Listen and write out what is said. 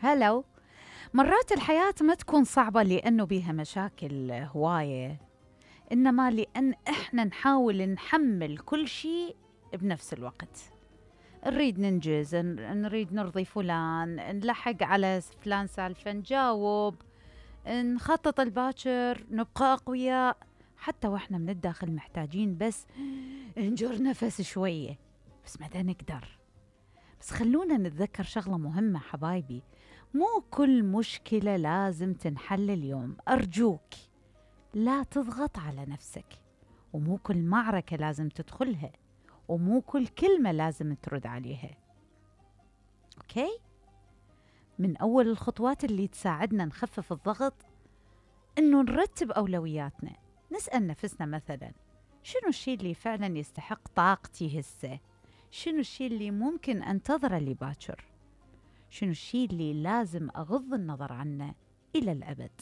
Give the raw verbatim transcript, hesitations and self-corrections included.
هلو. مرات الحياة ما تكون صعبة لأنه بيها مشاكل هواية، إنما لأن إحنا نحاول نحمل كل شيء بنفس الوقت. نريد ننجز، نريد نرضي فلان، نلحق على فلان سالفة، نجاوب، نخطط الباكر، نبقى أقوياء حتى وإحنا من الداخل محتاجين بس نجر نفس شوية، بس متى نقدر. بس خلونا نتذكر شغلة مهمة حبايبي، مو كل مشكلة لازم تنحل اليوم. أرجوك لا تضغط على نفسك، ومو كل معركة لازم تدخلها، ومو كل كلمة لازم ترد عليها. أوكي؟ من أول الخطوات اللي تساعدنا نخفف الضغط إنه نرتب أولوياتنا. نسأل نفسنا مثلا، شنو الشيء اللي فعلا يستحق طاقتي هسه؟ شنو الشيء اللي ممكن أنتظره لباكر؟ شنو الشيء اللي لازم أغض النظر عنه إلى الأبد؟